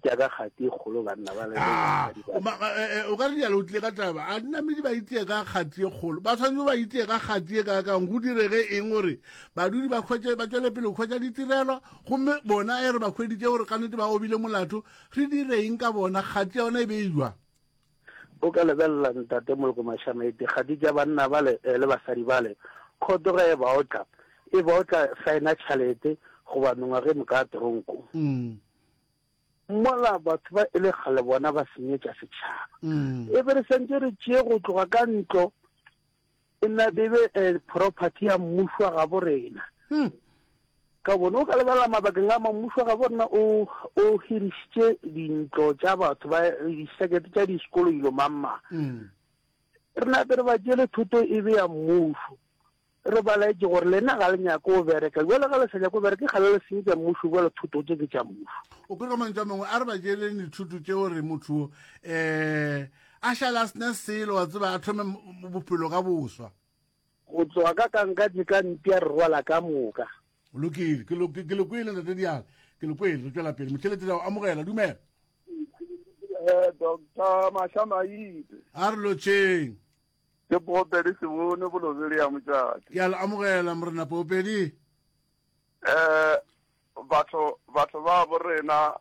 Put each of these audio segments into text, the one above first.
itia ka kgati e kgolo banna ba le ah, eh, eh, o ka re dialo o tlile ka taba a dinamedi ba itie ka kgati e kgolo ba tshwanetse ba itie ka kgati e kakang go direge eng gore badudi ba kgwetše ba tšwele pele go kgwetša ditirelo gomme bona e re ba kgweditše gore ka nnete ba obile molato re dire eng ka bona kgati ya bona e be e jwa O ka lebelela Ntate Moloko Mashamaite, kgati tša banna bale eh, le basadi bale, khoto ge e ba otla, e ba otla saena tšhalete goba mengwaga e moka tronko. Mm. Mola batho ba e le kgale bona ba senyetša setšhaba. Mm. E be re santše re tšee go tloga ka ntlo e na be be eh, property ya mmušo wa gabo rena. Hmm. Ka bone o ka lebelela mabakeng a mang mmušo wa gabo rena o o hirišitše dintlo tša batho ba disekete tša disekolo dilo mang mang. Mm. Re nape re ba tšeele thoto e be ya mmušo. Re ba laetše gore lena ga le nyake go bereka. Bjale ga le sa nyake go bereka ke kgale le senyetša mmušo bjale thoto tše ke tša mmušo. O kwe ka mantšu a mangwe a re ba tšeeleng dithoto tše gore motho um a šale a sena selo wa tseba a thome bophelo ka boswa. Go tloga ka kankatse ka mpša re rwala ka moka. O lokile ke le kwele ntate Diale ke le kwele re tšwela pele motheletši ra o amogela dumela. Eh, Doctor Mashamaite. A re lotšheng. Ke Poopedi Sebone Bolobedi ya Motšate. Ke a le amogela Morena Poopedi. Eh batho batho ba bo rena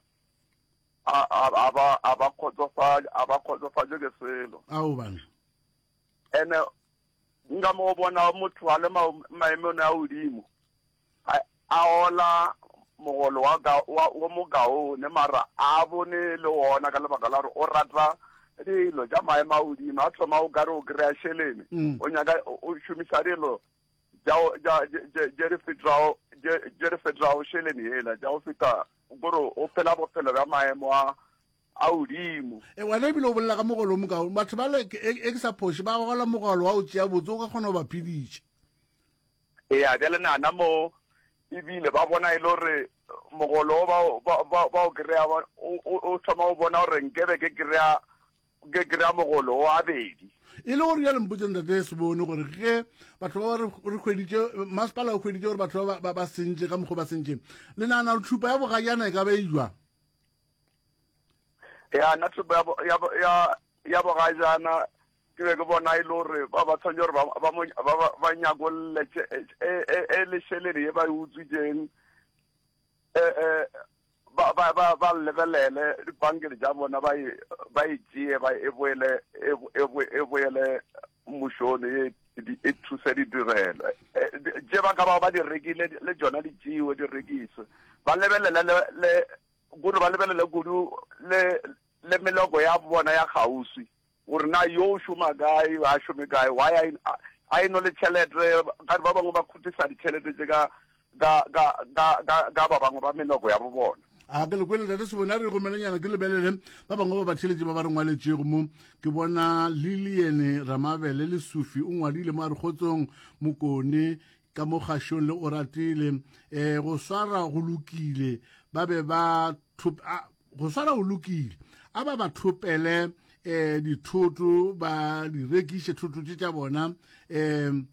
a a ba a ba khotsofatše a ba khotsofatše ke selo. Ao bana. Ene nka mo bona motho a le maemong a godimo a ola mogolo wa ka wa wo mokaone mara a bone le wona ka lebaka la gore o rata dilo tša maemo a godimo a thoma o kare o kry-a šelene mm. o nyaka o šomisa dilo tše di fetago šelene yela tša go feta kore o phela bophelo bja maemo a a godimo e wena ebile o bolela ka mogolo o mokaone batho ba le e, e ke sa phoše ba gola mogolo wa o tšea botse o ka kgona go ba phediša Eya, bjale nana mo ebile ba bona e le gore mogolo o ba, ba, ba o kry-a, o, o, o thoma o bona gore nkebe ke kry-a, ke kry-a mogolo o abedi. E le gore bjale mpotse ntate Sebone gore ge batho ba re re hweditše masepala o hweditše gore batho ba ba, ba sentše ka mokgwa ba sentšeng le nagana gore tšhupa ya bogajana e ka ba e jwang? Ya, nna tšhupa ya, ya, ya, ya bogajana Ke be ke bona e le gore ba ba tshwanetse gore ba, ba, mo, ba, ba, ba nyakolle tše, e, e, e le šelele ye ba e utswitšeng, e, e, ba, ba, ba, ba lebelele dipankeng tša bona, ba e, ba e tšee, ba e boele, e, e, e boele mmušong, e, e thuse ditirelo. E, tše ba ka ba ba di rekile le tšona di tšewe di rekiswe. Ba lebelele le, le, gore ba lebelele kudu le, le meloko ya bona ya kgauswi. Gore na yo o šoma kae, ga a šome kae, why a, a e no le tšhelete, gare ba bangwe ba khutisa ditšhelete tše ka, ka, ka, ka, ka, ka ba bangwe ba meloko ya bo bona. A ke le kwele tate Sebone, a re romelenyana ke lebelele ba bangwe ba batheeletši ba ba re ngwaletšego mo. Ke bona Lilian Ramabele Lesufi o ngwadile mo a re kgotsong Mokone ka mo kgašong le Oratile um go swara go lokile ba be ba thop a Go swara go lokile. A ba ba thopele um dithoto, ba di rekiše thoto tše tša bona um um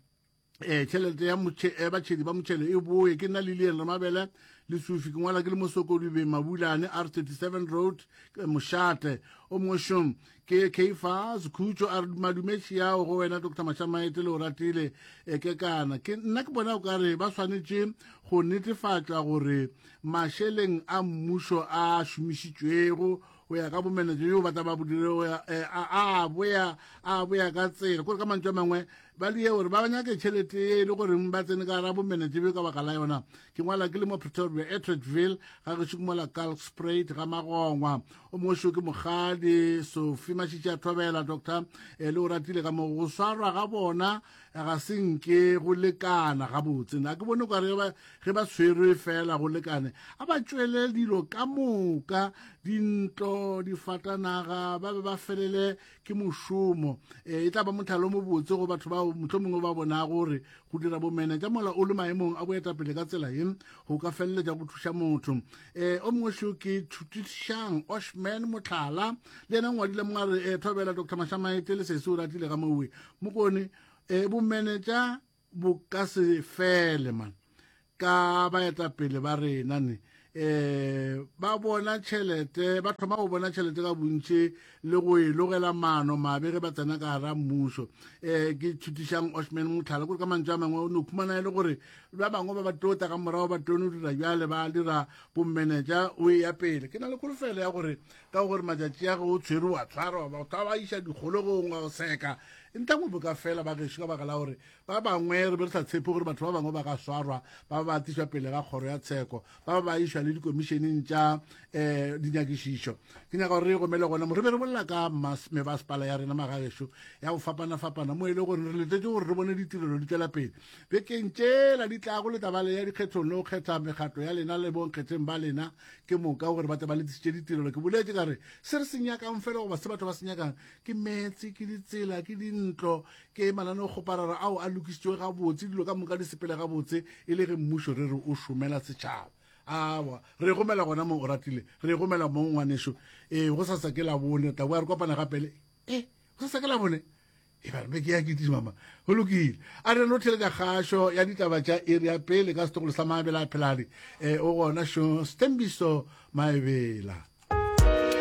tšhelete ya eh, batšhedi ba motšhelo e boye. Ke nna Lilian Ramabele Lesufi, ke ngwala ke le Mosokodubeng Mabulane, R37 Road, Mošate. O mongwe šong ke Keifas Khutšo a re madumetši yao go wena Dr Mashamaete le o ratile e ke kana. Ke nna ke bona o ka re ba swanetše go netefatša gore Mašeleng a mmušo a šomišitšwego go ya ka bomenetša bjo ba tla ba bo dire go ya eh, a a boya a boya ka tsela kore ka mantšu a mangwe ba die gore ba nyake tšhelete ye e le goreng ba tsene ka gara bomenetša bjo ka baka la yona. Ke ngwala ke le mo Pretoria Atteridgeville ga gešo ke mola Kalkspruit ga Magongwa. O mongwe šo ke Mokgadi Sophie Mašitši a Thobela Doctor eh, le o ratile ka mo go swarwa ga bona ga se nke go lekana gabotse. Na ke bone kare ge ba tshwerwe fela go lekane, a ba tšwele dilo ka moka, dintlo, difatanaga, ba be ba felele ke mošomo. E, e tla ba mohlala o mobotse go batho bao mohlomongwe ba bonago gore go dira bomenetša mola o le maemong a boetapele ka tsela ye go ka feleletša go thuša motho. E, o mongwe šo ke Thutišang Oshman Mohlala, le yena ngwadile mongwe a re, e, Thobela Doctor Mashamaete le sesi o ratile ga mowe Mokone, e, bomenetša bo ka se fele man ka baetapele ba rena ne. um ba bona tšhelete ba thoma go bona tšhelete ka bontši le go e logela maano mabe ge ba tsena ka gara mmušo um ke thutišang oshman motlhala kore ka mantšu a mangwe o no khumana e le gore ba bangwe ba ba tota ka morago ba tono dira bjale ba dira bommenetša o e ya pele ke na le kholofelo ya gore ka gore matšatši a ge o tshwere wa tshwarwa batho ba iša dikgolegong wa go seka ntla bo ka fela ba gešo ka baka la gore Ba bangwe re be re sa tshepe gore batho ba bangwe ba ka swarwa, ba ba tlišwa pele ga kgoro ya tsheko, ba ba ba išwa le dikomišeneng tša um dinyakišišo. Ke nyaka gore re gomele gona mo re be re bolela ka mebasepala ya rena magagešo ya go fapana-fapana mo e le gore re letetše gore re bone ditirelo di tšwela pele bekeng tšela di tlago le tabale ya dikgethong le go kgetha mekgatlo ya lena le bonkgetheng ba lena ke moka gore ba tle ba le tlišitše ditirelo. Ke boletše ka re se re se nyakang fela goba se batho ba se nyakang ke meetse, ke ditsela, ke dintlo, Ke mananeokgoparara ao a lokišitšwe gabotse, dilo ka moka di sepele gabotse e le ge mmušo re re o šomela setšhaba. Awa, re gomela gona mo o ratile, re gomela mo ngwanešo. Ee, go sasa ke labone, tla boa re kopana gape le e, go sasa ke labone. E ba re be ke ya ke mama. Go lokile. A re no theletša kgašo ya ditaba tša iri ya pele ka setlogolo sa Maabela a Pheladi. E, o gona šo Sthembiso Maebela.